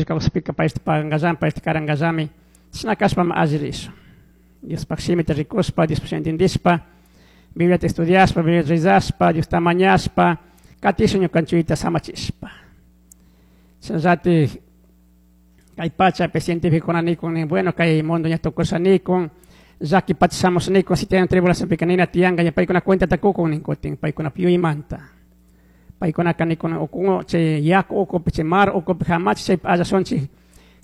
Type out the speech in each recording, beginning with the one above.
Kawsapika payta pagangallami, payta karangallami. Chashna kashpami alli rishun. Diospaj shimita rikushpa, Diospaj shimita entendishpa, Bibliata estudiashpa, Bibliata rezashpa, Diosta mañashpa, katishun ñukanchikta samachishpa. Chashnallatik kay pachapi cientificokuna nikun nin, bueno, kay mundo ña tukusha nikun, llaki pacha shamusha nikun, siete años tribulacionpika nina tiyanka, ña paykuna cuentata kukun nin kutin, paykunapi yuymanta. Paykunaka nikun ukun chay yaku ukupi, chay mar ukupi jamachi chaypi allashunchik,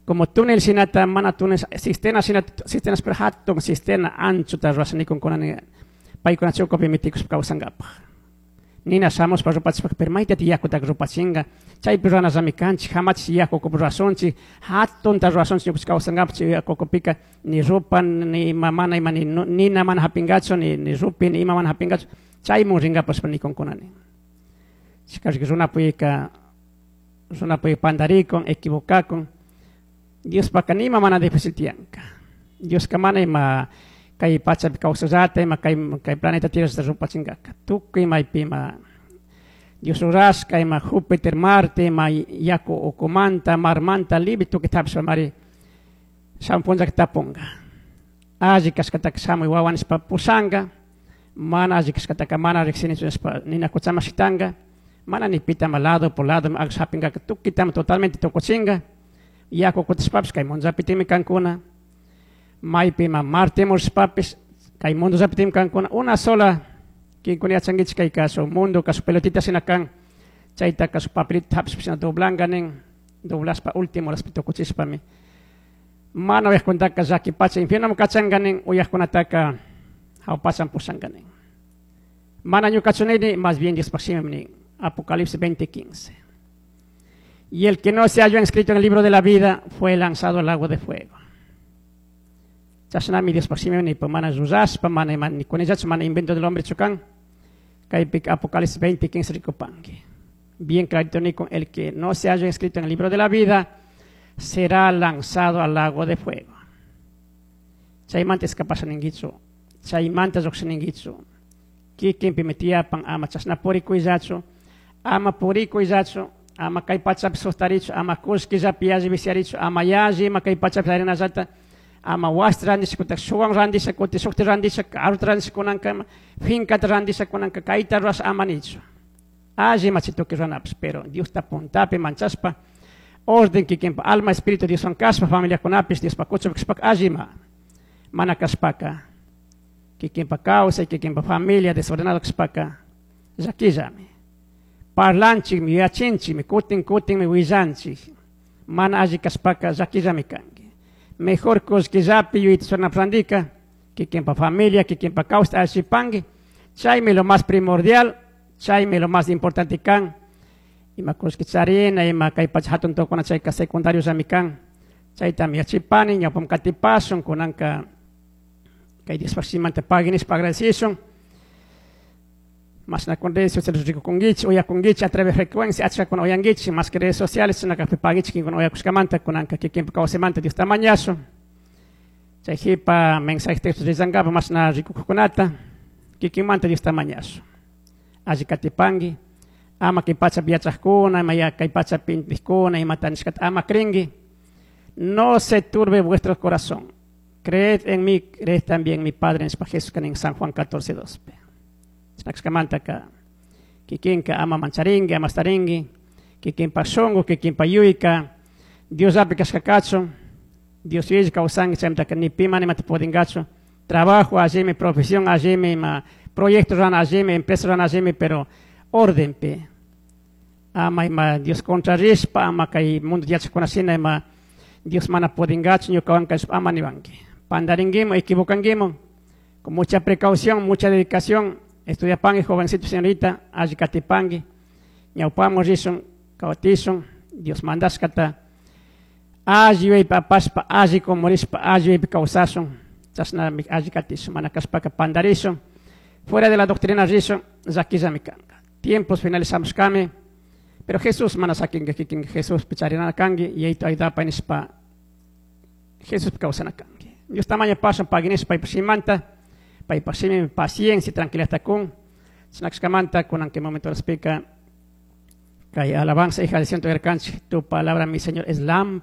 como túnel shinata, mana túnel, cisterna shinata, cisternas pero hatun cisterna anchota rurasha nikunkuna nin, paykuna chay ukupi mitikuspa kawsankapak. Nina shamushpa rupachishpa, pero maytati yakutaka rupachinka, chaypi ruranallami kanchik, jamachi yaku ukupi rurashunchik, hatunta rurashunchik ñukanchik kawsankapak, chay yaku ukupika ni rupa, ni ima mana ima, ni nina mana japinkachu, ni rupi, ni ima mana japinkachu, chaymun rinkapashpa nikunkuna nin. Chikashka runapuyka, runapuy pandarikun, equivocakun, Diospaka nima mana difícil tiyanka. Dioska mana ima kay pachapi kawsallata, ima kay planeta Tierra rupachinkaka. Tukuy maypi ima Dios rurashka, ima Júpiter, Marte, ima yaku ukumanta, marmanta, libre tukuy tapishpa mari shamun punllaka tapunka. Alli kashkataka shamuy wawa nishpa pushanka, mana alli kashkataka mana riksinichu nishpa nina kuchama shitanka, mana ni pitama lado por lado aksha hapinkaka tukuytama totalmente tukuchinka. Yaku kutishpapis kay mundollapitimi kankuna, maypi ima Marte murishpapis kay mundollapitimi kankuna, una sola kinkuna yachankichik kay kasu mundo kasu pelotita shina kan, chayta kasu papelita hapishpa shina doblanka nin, doblashpa último laspi tukuchishpami. Mana uyajkuntaka llaki pacha infiernoman kachanka nin, uyajkunataka hawpachan pushanka nin. Mana ñukachu nini, más bien Diospaj shimi nin, Apocalipsis 20:15. Y el que no se halló inscrito en el libro de la vida fue lanzado al lago de fuego. Chashnami Diospaj shimi ni mana rurashpa, mana ima, ni kunillachu, mana invento del hombre chukan. Kaypik Apocalipsis 20:15 rikupanki. Bien clarito ni con el que no se haya inscrito en el libro de la vida será lanzado al lago de fuego. Chaymanta escapasha ninguichu, chaymanta lluqshininguichu. Kikinpi mitiyapan ama chashna purikuyllachu, ama purikuyllachu, ama kay pachapi sustarichu, ama kullkillapi yalli viciarichu, ama yalli ima kay pachapi arenallata, ama wasita randisha kutin shuwan randisha kutin shukta randisha, carrota randisha kunankama, fincata randisha kunanka, kayta rurasha ama nichu. Alli ima chay tukuy ruranapish, pero Diosta puntapi manchashpa, orden kikinpa alma, espíritu Dioswan kashpa, familiakunapish, Diospa kuchupi kashpaka alli ima. Mana kashpaka, kikinpa kawsay, kikinpa familia desordenado kashpaka, llakillami. Parlanchikmi, yuyachinchikmi, kutin kutinmi willanchik. Mana alli kashpaka llakillami kanki. Mejor kullkillapi yuyayta churanaprandika, kikinpa familia, kikinpa kawsayta allipanki. Chaymi lo más primordial, chaymi lo más importante kan. Ima kullki charina, ima kay pacha hatun tukuna chayka secundario llami kan. Chaytami yachipani, ñawpam katipashun, kunanka kay Diospaj shimanta pagui nishpa agradecishun. Más na con redes sociales rikukunkichik, uyakunkichik a través de frecuencia, achkakuna uyankichik, más que redes sociales, shinaka paguichik, kinkuna uyakushkamanta, kunanka kikinpa kawsaymanta Diosta mañashun. Chay jipa mensaje texto rillankapa, más na rikukukunata, kikinmanta Diosta mañashun. Alli katipanki, ama kay pachapi yachajkuna, ima ya kay pachapi intijkuna, imata nishkata ama krinki. No se turbe vuestro corazón. Creed en mí, creed también en mi Padre, en Jesús, en San Juan 14:2. Chinakskamanta ka kikinka ama mancharinki, ama starinki, kikinpa shunku, kikinpa yuyka, Dios api kashkakachu, Dios yuylla kawsanki, chaymantaka ni pi mana imata pudinkachu. Trabajo allimi, profesión allimi, ima proyecto rana allimi, empresa rana allimi, pero ordenpi. Ama ima Dios contra rishpa, ama kay mundo yachakuna shina, ima Dios mana pudinkachu, ñukawan kashpa ama niwanki. Pandaringuimo, equivocanguimo, con mucha precaución, mucha dedicación. Estudia pangui, jovencito, señorita, alli katipangui, ñawpamo rishun, kawatishun, Dios mandashkata, alli yuyaypi apashpa, alli kumurishpa, alli yuyaypi kawsashun, chashnami alli katishun, mana kashpaka pandarishun, fuera de la doctrina rishun, llakillami kanka. Tiempos finalizamos kami, pero Jesús mana sakinka kikinka, Jesús picharinana kanki, yaytu aydapa nishpa, Jesús kawsana kanki. Dios tamaño pasan pagui nishpa, paypa shimanta, paypa shimi paciencia, tranquilidad kun, chinakshkamanta, kunan que momento respika, Kay alabanza, hija de ciento, tu palabra, mi Señor, es lámpara.